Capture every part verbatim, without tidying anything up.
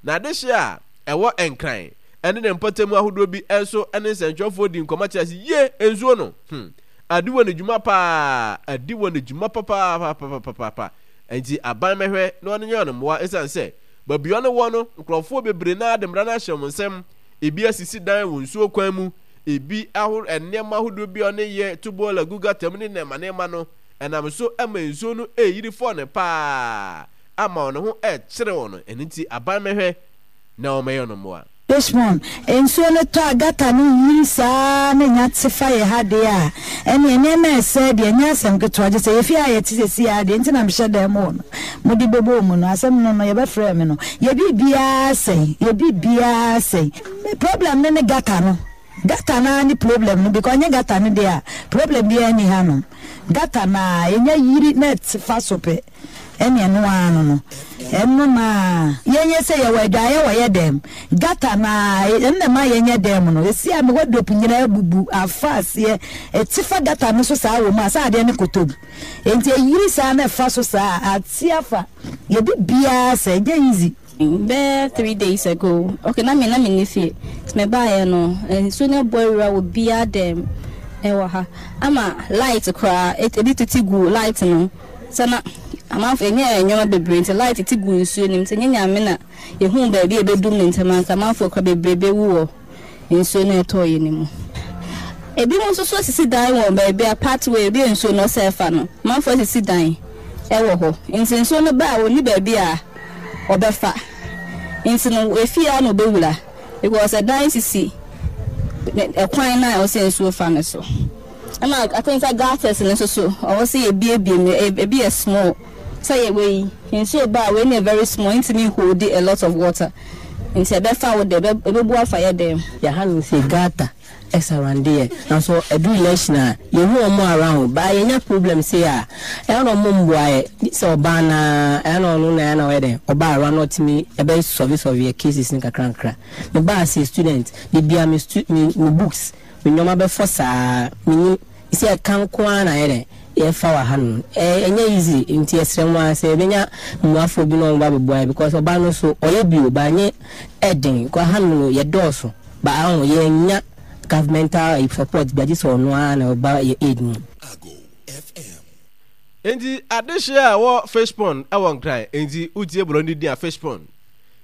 Na adehyeɛ a ɛwɔ Nkran ne ne mpɔtam ahodoɔ bi nso ne nsɛntwerɛfoɔ dii nkɔmmɔ kyerɛɛ sɛ, Ye! Nsuo no, hmm, adi wɔn dwuma paa, adi wɔn dwuma papaapapapapa. Enti aban mmɛhwɛ na wɔnyɛ wɔn mmoa ɛsiane sɛ baabi a wɔn wɔ no, nkurɔfoɔ bebree no ara de mmara no ahyɛ wɔn nsam. Ebi asisi dan wɔ nsuo kwan mu, ebi aho nneɛma ahodoɔ bi a wɔn yɛ to bɔɔla gu gata mu ne nneɛma nneɛma no, ɛnam so ma nsuo no reyiri fɔ no paa ama wɔn ho rekyere wɔn. Ɛno nti aban mmɛhwɛ na wɔmmɛyɛ wɔn mmoa. Richmond, Nsuo no tɔ a gutter no yiri saa na nya te fa yɛ ha deɛ a, ɛneɛ nneɛma a ɛsɛe deɛ ɛnyɛ asɛm ketewa gye sɛ yɛ fie a yɛte seesei ara deɛ nti na mehyɛ dan mu hɔ no mode bɛbɔɔ mu no asɛm no no yɛbɛfrɛɛ me no yɛ biribiara sɛe yɛ biribiara sɛe. Me problem no ne gutter no Gutter no ara ne problem no because ɛnyɛ gutter no deɛ a problem biara nni hanom. Gutter no ara ɛnya yiri na ɛte fa so pɛ ɛne ɛno ara no no ɛno no ara. Yɛnyɛ sɛ yɛwɔ adwaeɛ wɔ yɛ dɛm gutter no ara ɛno na ɛma yɛnyɛ dɛm no ɛsi a me wardrobe nyinaa abubu afa aseɛ ɛte fa gutter no so saa wɔ mu a sɛ adeɛ no kɔtɔ mu enti ɛyiri saa na ɛfa so saa a ate afa yɛ bibiara sɛ ɛnyɛ easy. Bɛyɛ three days ago, okay na me na me nni fie, nti me baeɛ no nsuo no abɔ awura wɔ biara dɛm ɛwɔ ha ama light koraa ebi tete gu light no sɛ na amanfo ɛnyɛ nneɛma bebree nti light tete gu nsuo no mu nti ɛnyɛ nyame na yɛhuu baabi a ɛbɛdum ne ntɛm anka amanfoɔ koraa bebree bɛwu wɔ nsuo no a ɛtɔeɛ no mu. Ebinom nso so asisi dan wɔ baabi a pathway ebi a nsuo no sɛ fa no, amanfoɔ asisi dan wɔ hɔ. Nti nsuo no ba a ɔnni baabi a ɔbɛfa. Nti no efie ara na ɔbɛwura because ɛdan sisi ɛkwan no a ɛwɔ sɛ nsuo fa no so. Ɛna I think sɛ gutters no nso so ɔwɔ sɛ yɛbuebue mu, ebi yɛ small. Sɛ yɛ wei nsuo ba a wei no yɛ very small ɛntumi nholdi a lot of water nti ɛbɛfa wo dɛ ɛbɛbu afa yɛ dɛm. Yɛ ha nom sei gutter surround yɛ nanso ɛduru election a yɛ hu ɔmo around but yɛ nya problem sei a ɛyɛ na ɔmo mboa yɛ gye sɛ ɔbaa no ara ɛyɛ na ɔno na ɛyɛ na ɔyɛ dɛn ɔba around na ɔtumi ɛbɛ sɔve sɔve yɛ cases no kakra nkakra me baa sei student de bia me stu me me books me nnoɔma bɛfɔ saa menim sɛ ɛka nko ara na ayɛ dɛn yɛfa wɔ ha nom ɛnyɛ easy nti yɛsrɛ mo ara sɛ yɛbɛnya mmoafoɔ bi na wɔn ba bɛboa yɛ because ɔbaa no so ɔyɛ bi o but ɛnyɛ ɛden because ha nom no yɛdɔɔso but aho yɛnnya governmental support bi agye sɛ ɔno ara na ɔba yɛ aid mu. Enti adehyeɛ a ɛwɔ fish pond wɔ Nkran, enti wotie borɔ no din a fish pond.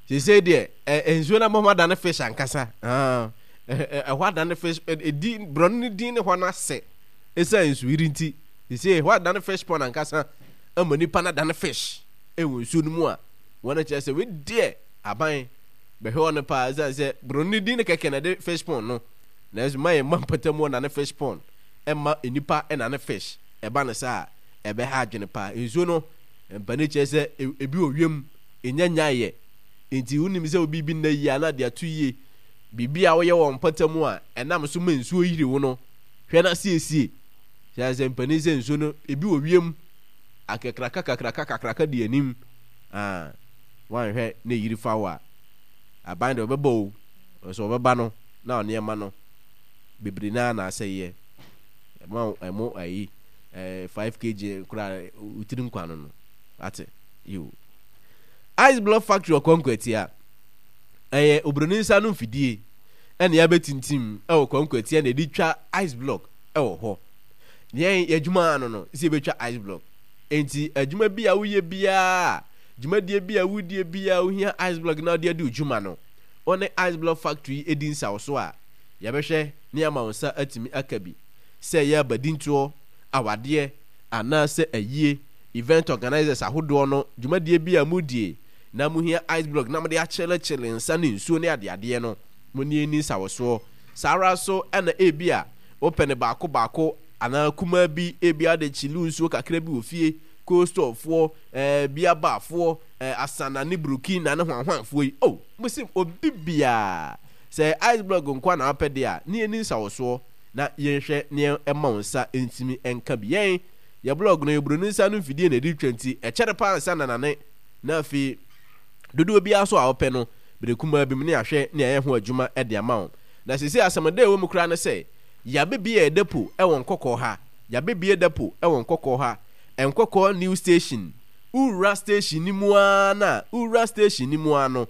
Seesei deɛ ɛ nsuo no abɔ ho adane fish ankasa. Ah, ɛhɔ adane fish, ɛdi borɔ no din ne hɔ no asɛ ɛsiane nsuyiri nti. Seesei ɛhɔ adane fish pond ankasa ama nipa no adane fish ɛwɔ nsuo no mu a wɔn kyerɛ sɛ wei deɛ aban bɛhwɛ wɔn paa ɛsiane sɛ borɔ no din no kɛkɛ na ɛde fish pond no nanso ma yɛn mma mpɔtam wɔ nane fish pond ɛma nnipa nane fish ɛba no saa a ɛbɛha adwene paa nsuo no mpanin kyerɛ sɛ ebi wɔ wiem Enya nyaeɛ. Enti wonim sɛ wo biribi nna yie anaa de ato yie. Biribi a woyɛ wɔ mpɔtam a ɛnam so ma nsuo yiri wo no, hwɛ na siesie. Hyɛ sɛ mpanin sɛ nsuo no, ebi wɔ wiem akakraka kakraka kakraka di anim. Ah, woanhwɛ na eyiri fa wo a, aban deɛ ɔbɛba o, nso ɔbɛba no na nneɛma no bebree naa na asɛeɛ. Ɛma ɛmo ayi, eh, five kg koraa wotiri nkwa no no. Ate? Yiw. Ice Block Factory wɔ Kwankwatia. Ɛyɛ oburoni nsa ano mfidie ɛna yɛabɛtintim ɛwɔ Kwankwatia na yɛde twa ice block ɛwɔ hɔ. Yɛn yɛadwuma ano no sɛ yɛbɛtwa ice block. Enti adwuma bi a woyɛ biara, dwumadie bi a wodie biara wohia ice block na wode adi wo dwuma no, wo ne Ice Block Factory yi di nsawoso a, yɛbɛhwɛ na yɛama wo nsa atumi aka bi. Sɛ ɛyɛ abadintoɔ, awadeɛ, anaasɛ ayie. Event organisers ahodoɔ no dwumadie bi a modie na mohia ice block na mode akyelekyele nsa ne nsuo ne adeadeɛ no, mo ne yɛnni nsawɔsoɔ. Saa ara nso na ebia wopɛ no baako baako anaa kumaa bi, ebia wode kyele nsuo kakra bi wɔ fie, cold store foɔ, eh, bia bar foɔ, eh, Asana ne Burkina ne hwanhwanfoɔ yi, oh, mose obi biara, sɛ ice block nko ara na wopɛ deɛ a, ne yɛnni nsawɔsoɔ na yɛnhwɛ na yɛmma wo nsa ntumi nka bi. Yɛn. Yɛ blɔg no, yɛ buroni nsa ano mfidie na ɛde twa nti, ɛkyɛre paa ansa na nane, na afei dodoɔ biara nso a wopɛ no, bere kumaa bi mu ne yɛahwɛ ne yɛayɛ ho adwuma de ama wo. Na seesei asɛm da a ɛwɔ mu koraa ne sɛ, yɛabɛbie yɛ depo wɔ Nkɔkɔɔ ha, yɛabɛbie depo wɔ Nkɔkɔɔ ha, Nkɔkɔɔ New Station, wowura station no mu ara no a, wowura station no mu ara no,